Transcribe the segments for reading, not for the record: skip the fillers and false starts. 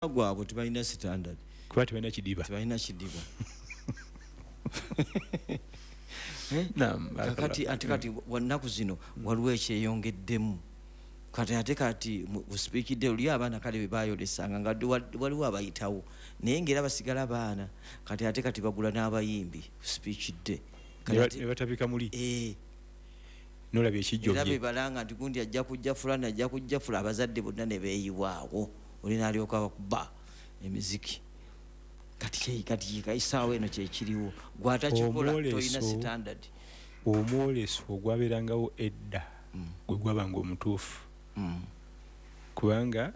Gwabwe tebalina standard. Kuba tebalina kidiba. Tebalina kidiba. Naam. Kakati ate kati wanaku zino waliwo ekyeyongeddemu. Kati ate kati usipikidde oli abaana kale bwe bayolesanga nga waliwo abayitawo, naye ng'era basigala baana. Kati ate kati bagula n'abayimbi usipikidde. Ne batabika muli. Nolaba ekijjo era bebalanga nti gundi ajja kujja fulani, ajja kujja fula, abazadde bonna ne beeyiwaawo, oli n'alyoka bakuba emiziki. Kati kati essaawa eno kyekiriwo, gwatakikola tolina standard. Omwoleso ogwabeerangawo edda gwe gwabanga omutuufu, kubanga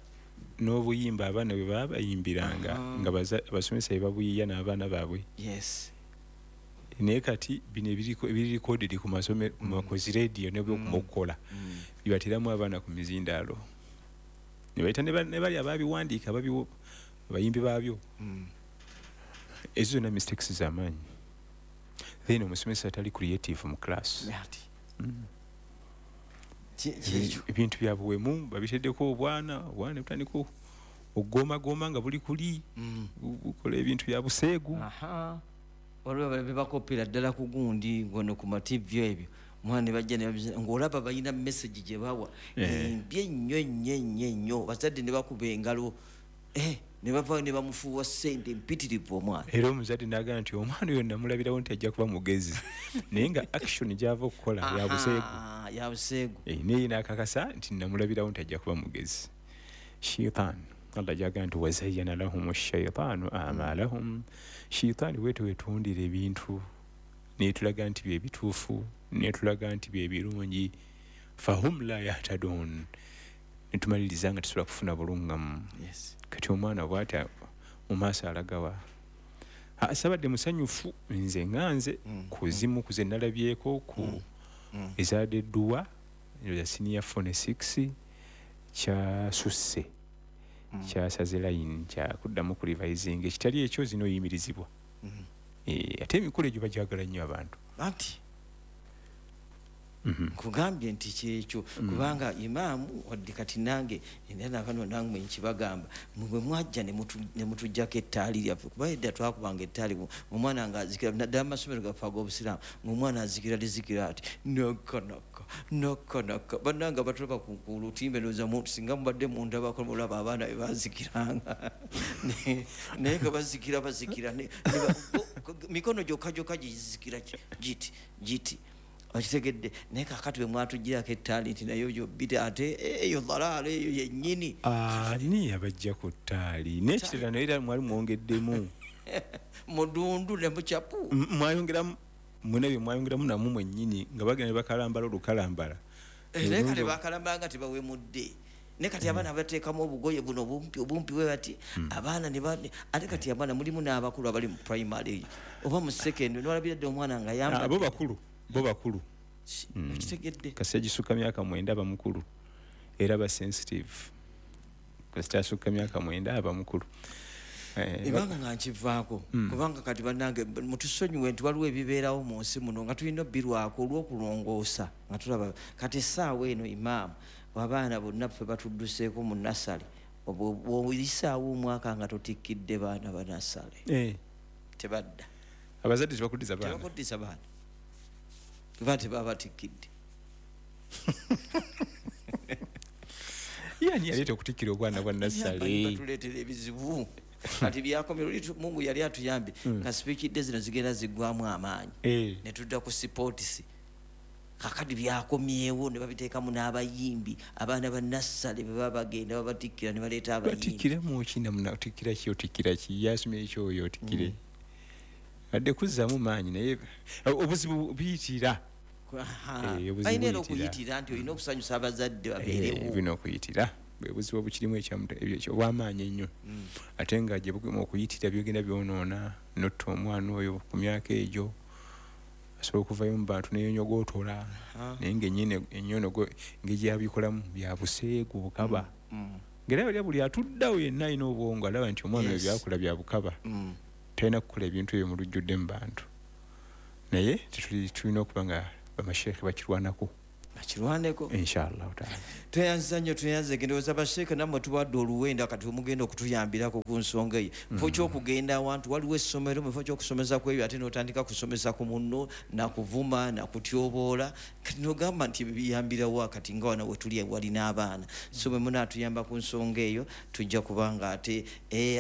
n'obuyimba abaana bwe baba bayimbiranga nga abasomesa be babuyiiya n'abaana baabwe. Naye kati bino ebiri recorded ku masomero, ku zi radio ne byokumokola, bibateramu abaana ku mizindaalo, ne bayita ne bali ababiwandiika abayimbi baabyo. Ezo zonna mistakes z'amaanyi. Then omusomesa atali creative mu class. Ebintu bya buwemu babiteddeko obwana, obwana butandika okugomagoma nga buli kuli, bukola ebintu bya buseegu. Waliwo bebakopera ddala ku gundi ngono ku ma TV ebyo, omwana ne bajja ne babizina, ng'olaba balina message gye bawa embi ennyo ennyo ennyo ennyo, bazadde ne bakuba engalo, ne bava ne bamufuuwa ssente mpitirivu omwana. Era omuzadde n'agamba nti omwana oyo namulabirawo nti ajja kuba mugezi, naye nga action gy'ava okukola ya buseegu. Ya buseegu. Naye n'akakasa nti namulabirawo nti ajja kuba mugezi. Shaitan, Allah gy'agamba nti wazayyana lahum shaitaanu a'maalahum. Shaitaani bwetyo wetundira ebintu netulaga nti bye bituufu, netulaga nti bye birungi, fahum la yahtadun, netumaliriza nga tusobola kufuna bulungamu. Kati omwana bw'ati mu maaso alagawa? Sabadde musanyufu nze nga nze ku zimu ku ze nalabyeko ku ezadde edduwa ya senior 4 ne 6 kyasusse, kyasaze line, kyakuddamu ku revising, ekitali ekyo zino yimirizibwa. Ate emikolo egyo bagyagala nnyo abantu. Anti nkugambye nti kyekyo, kubanga imaamu wadde kati nange era nabano nange nkibagamba, mwe mwajja ne mutuggyako ettaali lyaffe, kuba edda twakubanga ettaali, omwana ng'azikira naddala mu masomero gaffe ag'obusiraamu, ng'omwana azikira lizikira ati nakka nakka nakka nakka. Bannange abatulaba ku lutimbe ndowooza singa mubadde mundabako mulaba abaana be bazikiranga, naye nga bazikira bazikira mikono gyokka gyokka gizikira giti giti, okitegedde. Naye kaakati bwe mwatuggyirako ettaali nti naye oyo bita ate eyo dhalaala eyo yennyini. Ani yabajja ku ttaali? N'ekirala naye era mwali mwongeddemu mudundu ne mucapu, mwayongeramu mwena bye mwayongeramu namwe mwennyini, nga bagenda ne bakalambala olukalambala. Naye kale bakalambala nga tebawemudde. Naye kati abaana bateekamu obugoye buno obumpi obumpi bwe bati, abaana ne ate kati abaana mulimu n'abakulu abali mu primary oba mu secondary, n'olabira dde omwana nga yambadde. Abo bakulu, bo bakulu. Okitegedde. Kasita gisukka myaka 9 aba mukulu, era ba sensitive. Kasita asukka myaka 9 aba mukulu. Ebanga nga nkivaako, kubanga kati bannange mutusonyiwe nti waliwo ebibeerawo mu nsi muno nga tulina obbirwako olw'okulongoosa, nga tulaba kati essaawa eno imaamu abaana bonna ffe batudduseeko mu nasale, bw'oyisaawo omwaka nga totikkidde baana ba nasale, tebadda. Abazadde tebakuddiza baana. Tebakuddiza baana, kuba tebabatikkidde. Yani yaleeta okutikkira obwana bwa nasale. Batuleetera ebizibu. Kati byakomera oli Mungu yali atuyambye nga sipikidde zino zigenda ziggwamu amaanyi, ne tudda ku sports. Kakati byakomyewo ne babiteekamu n'abayimbi, abaana ba nassale bwe baba bagenda babatikkira ne baleeta abayimbi. Batikkira mu ki namuna, otikkira ki, otikkira ki, yasomye ekyo oyo otikkire. Adde kuzzaamu maanyi, naye obuzibu buyitira. Obuzibu Balina era buyitira. okuyitira nti olina okusanyusa abazadde babeerewo. Bino okuyitira bwe buzibu obukirimu obw'amaanyi ennyo. Ate nga gye bugema okuyitira byogenda byonoona, n'otta omwana oyo ku myaka egyo, asobola okuvayo mu bantu n'eyonyogootola. Naye ng'ennyini ennyonogo engeri gy'abikolamu bya buseegu, bukaba. Ng'era bali buli atuddawo yenna alina obwongo alaba nti omwana oyo by'akola bya bukaba. Talina kukola ebintu ebyo mu lujjudde mu bantu. Naye tulina okuba nga bamasheekhe bakirwanako. Akirwaneko. Inshallah taala. Tweyanza nnyo, tweyanze. Ndowooza basheeka nammwe tuwadde oluwenda, kati omugenda okutuyambirako ku nsonga eyo. Mufo kyokugenda awantu waliwo essomero, mufo kyokusomesa ku ebyo, ate n'otandika kusomesa ku munno, nakuvuma, nakutyoboola, kati nogamba nti biyambirawa? Kati nga wano wetuli wali n'abaana, so bwe munaatuyamba ku nsonga eyo, tujja kubanga ate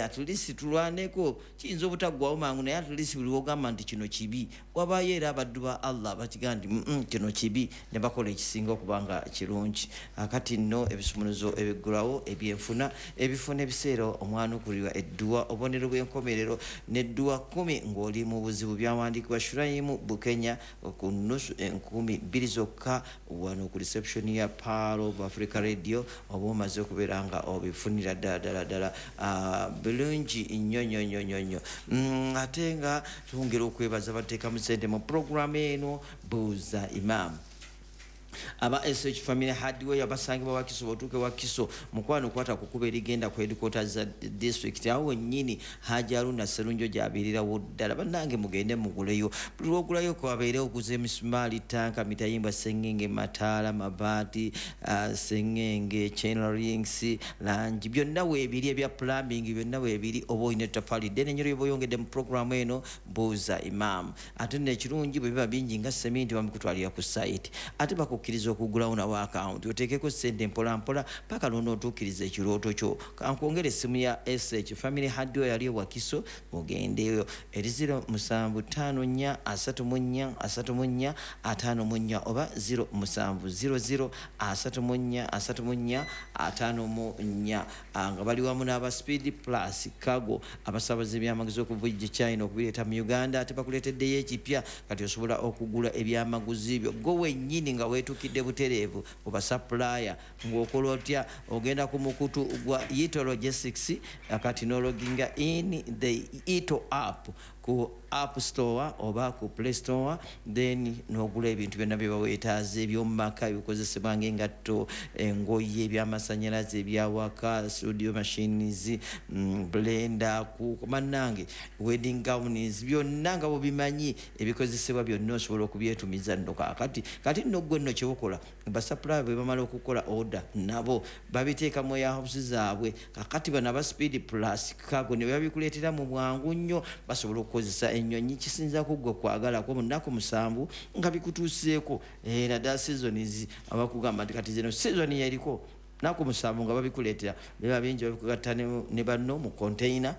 at least tulwaneko. Kiyinza obutaggwawo mangu, naye at least buli wogamba nti kino kibi, wabaayo era abaddu ba Allah bakigaa nti kino kibi, ne bakola ekisinga okuba nga kirungi. Akati nno ebisumuluzo ebiggulawo ebyenfuna, ebifuna ebiseera omwanukulirwa edduwa, obubonero bw'enkomerero n'edduwa 10 ng'oli mu buzibu, byawandiikibwa Shurayimu Bukenya ku nusu 2000 zokka wano ku reception ya Pearl of Africa Radio. Oba omaze okubeera nga obifunira ddala ddala ddala bulungi nnyo nnyo nnyo nnyo nnyo. Ate nga twongera okwebaza bateekamu sente mu puroguramu eno Buuza Imaamu, aba SH Family Hardware abasangibwa Wakiso. Bwotuuka Wakiso, mukwano, kwata ku kkubo erigenda ku headquarters za district, awo wennyini Haji Aruna Serunjo gy'abeererawo ddala. Bannange, mugende muguleyo. Buli lwogulayo kwabeere oguza emisumaali, tanka, mitayimbwa, sengenge, mataala, mabaati, sengenge, chain links, langi, byonna weebiri, ebya plumbing byonna weebiri. Oba olina ettaffaali ddene nnyo lyoba oyongedde mu puroguramu eno Buuza Imaamu. Ate nno ekirungi, bwe biba bingi nga seminti, bamukutwalira ku site, ate bakukkiriza okugulawo nawo akawunti, oteekeko sente mpolampola paka lwonootuukiriza ekirooto kyo. Kankwongera essimu ya SH Family Hardware yali Wakiso, mugendeyo, eri 0754 34 34 54 oba 0700 34 34 54. Nga bali wamu n'aba Speed Plus Cargo, abasabaza ebyamaguzi okuva e China okubireeta mu Uganda. Ate bakuleeteddeyo ekipya, kati osobola okugula ebyamaguzi byo gwe wennyini nga weetukidde butereevu oba supplier. Ng'okola otya? Ogenda ku mukutu gwa Ito Logistics, kati n'ologinga in the Ito app ku App Store oba ku Play Store, then n'ogula ebintu byonna bye baweetaaza ebyomumaka, ebikozesebwa ng'engatto, engoye, ebyamasanyalaze, ebyawaka, studio machines, blender, ku bannange, wedding gowns, byonna nga bwebimanyi ebikozesebwa byonna osobola okubyetumiza nno. Kaakati kati nno gwe nno kyebukola, basupplier bwe bamala okukola order, nabo babiteeka mu warehouse zaabwe. Kakati bano aba Speed Plus Cargo ne babikuleetera mu bwangu nnyo. Basobola okukozesa ennyonyi, kisinza ku gwe kwagalako, mu nnaku 7 nga bikutuuseeko. Naddala seasons, abakugamba nti kati zino season yeriko, naku 7 nga babikuleetera. Biba bingi, babikugatta ne banno mu container,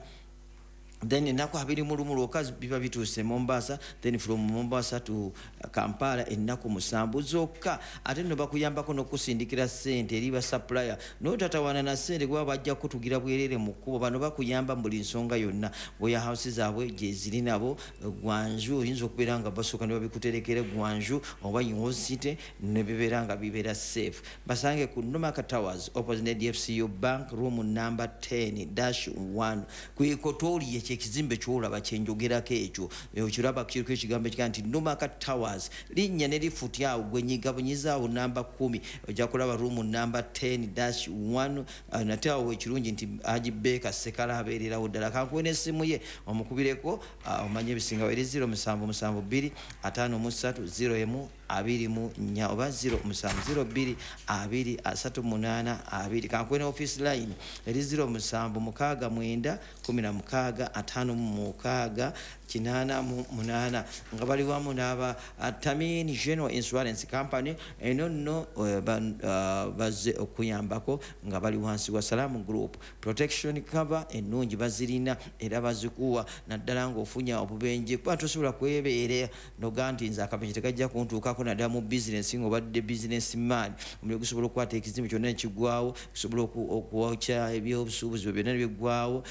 then ennaku 21 lwokka biba bituuse Mombasa, then from Mombasa to Kampala ennaku 7 zokka. Ate nno bakuyambako n'okusindikira ssente eri basupplier, n'otatawaana na ssente, kuba bajja kutugira bwerere mu kkubo. Bano bakuyamba mu buli nsonga yonna. Warehouse zaabwe gyeziri nabo Gwanju, oyinza okubeera nga basooka ne babikuterekera Gwanju oba University, ne bibeera nga bibeera safe. Basange ku Nomaka Towers, opposite DFCU Bank, room number 10-1 ku Equatorial. Ekyo ekizimbe kyolaba kyenjogerako ekyo, okiraba kiriko ekigambo ekigaa nti Nomaka Towers, linnya ne lifuti awo gwe nyiga bunyizaawo namba 10, ojja kulaba room number 10-1. Nate awo ekirungi nti Haji Beka Sekala abeererawo ddala. Kankuwe n'essimu ye omukubireko, omanye ebisingawo, eri 0772 53 01 24 oba 0702 2 38 2. Kankuwe ne office line eri 0769 16 56 88, nga bali wamu n'aba Tamin General Insurance Company. Eno nno bazze okuyambako nga bali wansi wa Salamu Group. Protection cover ennungi bazirina era bazikuwa, naddala ng'ofunya obubenje, kuba tosobola kwebeera noga nti nze akabenje tekajja kuntuukako, naddala mu bizinesi ng'obadde business man. Omuliro gusobola okukwata ekizimbe kyonna nekigwawo, gusobola okwokya ebyobusuubuzi byonna nebiggwawo,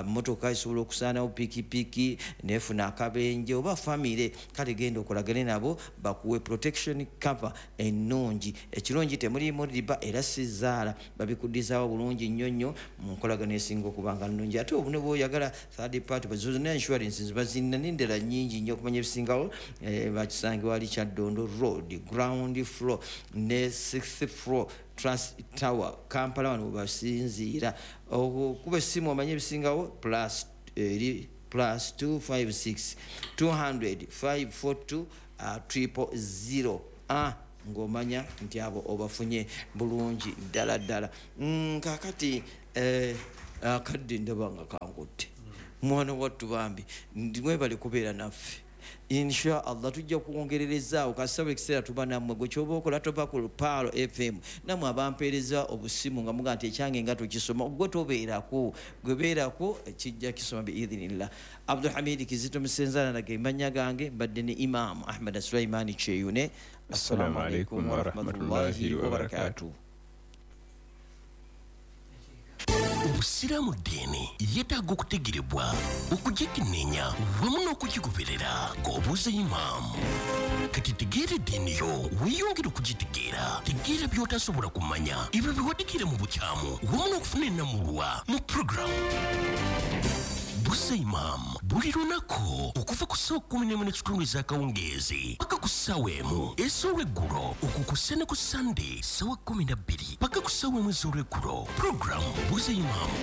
motoka esobola okusaanawo, pikipiki nefuna akabenje oba famire. Kale genda okolagane nabo bakuwe protection cover ennungi. Ekirungi, temulimu riba era sizaala, babikuddizawo bulungi nnyo nnyo mu nkolagano esinga okuba nga nnungi. Ate obune bwoyagala third party, zonna insurance bazirina n'endala nnyingi nnyo. Okumanya ebisingawo, bakisangibwa wali Kyaddondo Road, ground floor ne sixth floor, Trust Tower, Kampala. Wano webasinziira. Okuba essimu omanye ebisingawo, plus eri +256 200 542 000. Ng'omanya nti abo obafunye bulungi ddala ddala. Kakati akadde ndaba nga kankutte, mwana wattu. Bambi mwebale kubeera naffe. Insha Allah tujja kwongererezaawo kasaba ekiseera tuba nammwe. Gwe kyoba okola, tova ku Pearl FM. Nammwe abampeereza obusimu nga muga nti ekyange nga tukisoma, gwe tobeerako, gwe beerako, kijja kisoma biidhinillah. Abdulhamidi Kizito Musenzala nage mannya gange, mbadde ne Imaamu Ahmad Sulaimani Kyeyune. Assalamu alaikum warahmatullahi wabarakatuh. Obusiraamu ddiini yeetaaga okutegerebwa, okugikenneenya wamu n'okugigoberera ng'obuuza imaamu. Kati tegeera eddiini yo, weeyongere okugitegeera. Tegeera by'otasobola kumanya, ebyo biwadikire mu bukyamu, wamu n'okufuna ennamulwa mu puroguramu Buuza Imaamu buli lunaku okuva ku ssaawa 11:30 ez'akawungeezi paka ku ssaawa 1 ez'olweggulo, okwo kussa ne ku Sande ssaawa 12 paka ku ssaawa 1 ez'olweggulo. Puroguramu Buuza Imaamu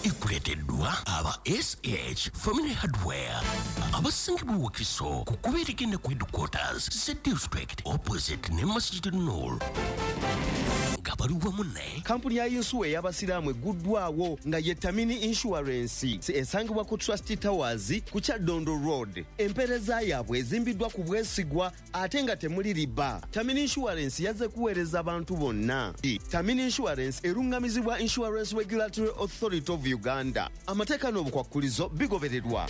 ekuleeteddwa aba SH Family Hardware, abasangibwa Wakiso ku kkubo erigenda ku headquarters za district, opposite ne Masjid Nur, nga bali wamu ne Kampuni ya yinsuwa ey'abasiraamu egguddwawo nga ye Tamini Insurance, esangibwa ku Trust Towers ku Kyaddondo Road. Empeereza yaabwe ezimbiddwa ku bwesigwa ate nga temuli riba. Tamini Insurance yazze kuweereza bantu bonna. Tamini Insurance erungamizibwa Insurance Regulatory Authority of Uganda. Amateeka n'obukwakkulizo bigobererwa.